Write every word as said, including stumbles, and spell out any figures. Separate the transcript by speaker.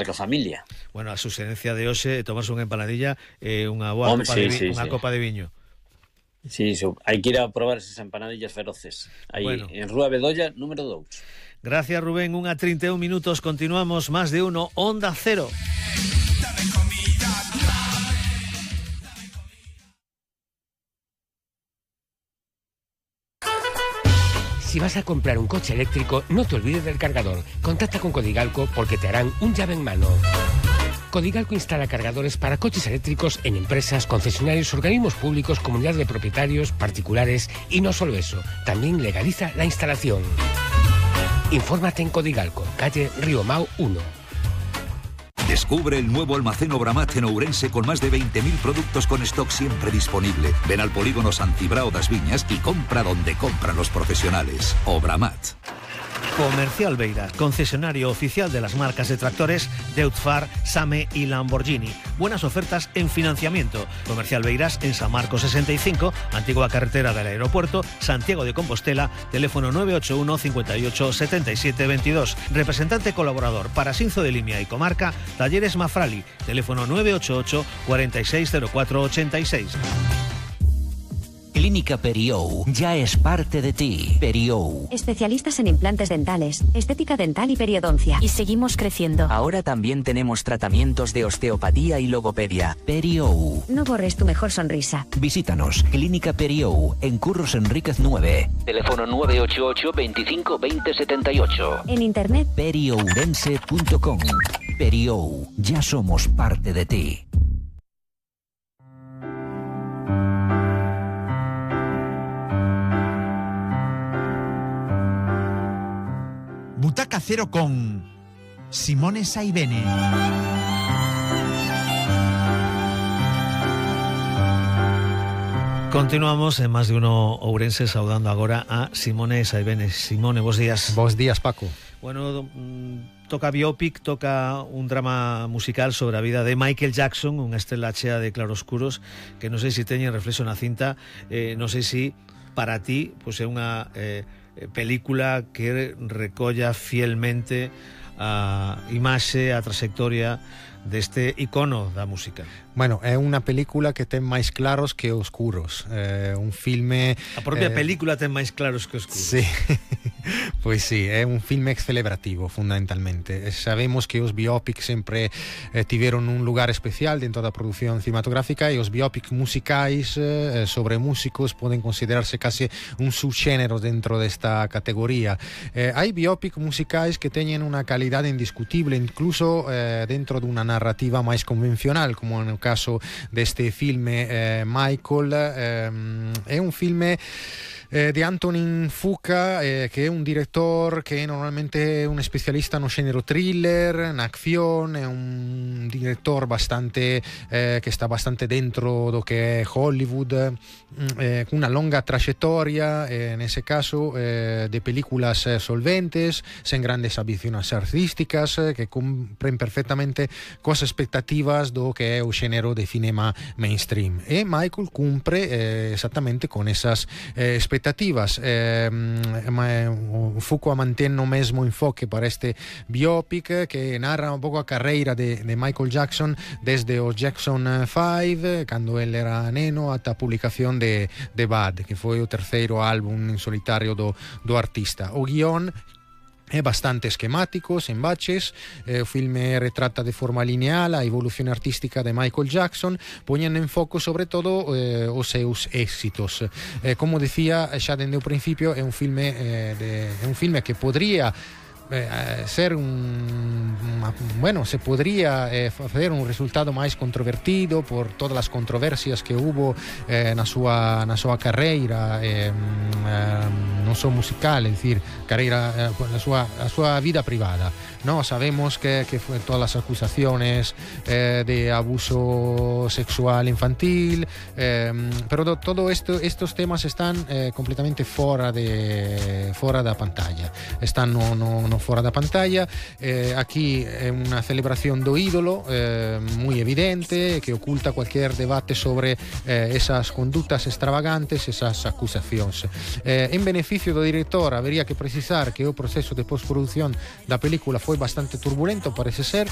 Speaker 1: a familia.
Speaker 2: Bueno, a suxerencia de hoxe, tomarse unha empanadilla e eh, unha boa
Speaker 1: Home,
Speaker 2: copa,
Speaker 1: sí,
Speaker 2: de, vi-
Speaker 1: sí,
Speaker 2: unha
Speaker 1: sí.
Speaker 2: copa de viño.
Speaker 1: Sí, so, hai que ir a probar esas empanadillas feroces. Aí,
Speaker 2: Bueno.
Speaker 1: en Rúa Bedolla, número dous.
Speaker 2: Gracias, Rubén. Unha trinta e un minutos. Continuamos. Más de uno. Onda Cero.
Speaker 3: Si vas a comprar un coche eléctrico, no te olvides del cargador. Contacta con Codigalco porque te harán un llave en mano. Codigalco instala cargadores para coches eléctricos en empresas, concesionarios, organismos públicos, comunidades de propietarios, particulares y no solo eso, también legaliza la instalación. Infórmate en Codigalco, calle Río Mau uno.
Speaker 4: Descubre el nuevo almacén Obramat en Ourense con más de veinte mil productos con stock siempre disponible. Ven al polígono San Cibrao das Viñas y compra donde compran los profesionales. Obramat.
Speaker 2: Comercial Beiras, concesionario oficial de las marcas de tractores Deutz-Fahr, Same y Lamborghini. Buenas ofertas en financiamiento. Comercial Beiras en San Marcos sesenta y cinco, antigua carretera del aeropuerto, Santiago de Compostela, teléfono nueve ocho uno, cincuenta y ocho, setenta y siete veintidós. Representante colaborador para Sinzo de Limia y Comarca, Talleres Mafrali, teléfono nueve ocho ocho, cuarenta y seis cero cuatro ochenta y seis.
Speaker 5: Clínica Periou ya es parte de ti. Periou.
Speaker 6: Especialistas en implantes dentales, estética dental y periodoncia. Y seguimos creciendo.
Speaker 5: Ahora también tenemos tratamientos de osteopatía y logopedia. Periou.
Speaker 6: No borres tu mejor sonrisa.
Speaker 5: Visítanos. Clínica Periou en Curros Enríquez nueve.
Speaker 7: Teléfono nueve ocho ocho, veinticinco, veinte, setenta y ocho.
Speaker 6: En internet
Speaker 5: periourense punto com. Periou. Ya somos parte de ti.
Speaker 8: Butaca Cero con Simone Saibene.
Speaker 2: Continuamos en Más de Uno Ourense saudando agora a Simone Saibene. Simone, bos días.
Speaker 9: Bos días, Paco.
Speaker 2: Bueno, mm, toca biopic, toca un drama musical sobre a vida de Michael Jackson, unha estrela chea de claroscuros que non sei se teñen reflexo na cinta, eh, non sei se para ti pues, é unha eh, película que recolla fielmente a imaxe, a trayectoria deste icono da música.
Speaker 9: Bueno, é unha película que ten máis claros que oscuros. Eh, un filme...
Speaker 2: A propia
Speaker 9: eh,
Speaker 2: película ten máis claros que oscuros.
Speaker 9: Sí, pois sí, é un filme celebrativo, fundamentalmente. Sabemos que os biopics sempre eh, tiveron un lugar especial dentro da produción cinematográfica e os biopics musicais eh, sobre músicos poden considerarse case un subxénero dentro desta categoría. Eh, hai biopics musicais que teñen unha calidade indiscutible, incluso eh, dentro dunha narrativa máis convencional, como no caso deste filme eh, Michael. Eh, é un filme Eh, de Antonin Fuqua, eh, que é un director que normalmente é un especialista no xénero thriller, na acción, é un director bastante eh, que está bastante dentro do que é Hollywood, eh, cunha longa traxectoria, eh, nese caso, eh, de películas eh, solventes, sen grandes ambicións artísticas, eh, que cumpren perfectamente coas expectativas do que é o xénero de cinema mainstream. E Michael cumpre eh, exactamente con esas eh, expectativas expectativas. Eh, Fuqua mantén o mesmo enfoque para este biopic que narra un pouco a carreira de, de Michael Jackson desde o Jackson five, cando ele era neno, ata a publicación de, de Bad, que foi o terceiro álbum en solitario do, do artista. O guión é bastante esquemático, sen baches. Eh, o filme retrata de forma lineal a evolución artística de Michael Jackson, poñendo en foco sobre todo eh, os seus éxitos. Eh, como decía xa dende o principio, é un filme eh, de, é un filme que podría Eh, ser un una, bueno, se podría eh, facer un resultado máis controvertido por todas as controversias que hubo eh, na súa na súa carreira, eh, eh, non só musical, é dicir, carreira, eh, na súa a súa vida privada. No, sabemos que que foi todas as acusaciones eh, de abuso sexual infantil, eh, pero do, todo esto estos temas están eh, completamente fora de fora da pantalla. Están no no, no fora da pantalla. Eh, aquí é unha celebración do ídolo eh, moi evidente, que oculta cualquier debate sobre eh, esas conductas extravagantes, esas acusacións. Eh, en beneficio do director, habería que precisar que o proceso de postproducción da película foi bastante turbulento, parece ser,